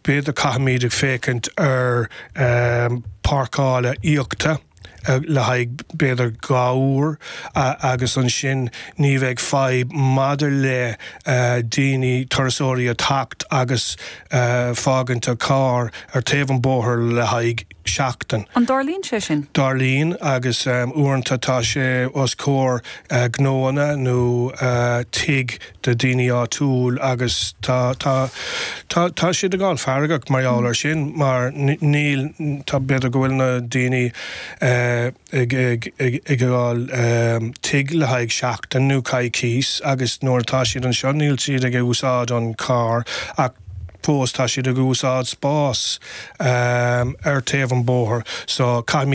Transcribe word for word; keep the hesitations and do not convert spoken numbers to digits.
B'fhéidir caithfimid ag féachaint ar um, páirceáil íoctha le haghaidh b'fhéidir dhá uair agus ansin ní bheidh fadhb maidir le daoine turasóirí a theacht agus fágaint a carr ar taobh an bóthar le haghaidh seachtain. An dtarlaíonn sé sin? Tarlaíonn agus um, uaireanta tá sé os comhair uh, gnóanna nó uh, tigh de daoine áitiúil agus tá tá tá tá siad ag gabháil feargach mar gheall ar sin mar níl tá b'fhéidir go bhfuil na daoine uh, ag ag ag ag gabháil um, tigh le haghaidh seachtain nó coicís agus nuair atá siad anseo níl siad ag úsáid an carr ach fós tá siad ag úsáid spás um, ar taobh an bóthar so caithfimid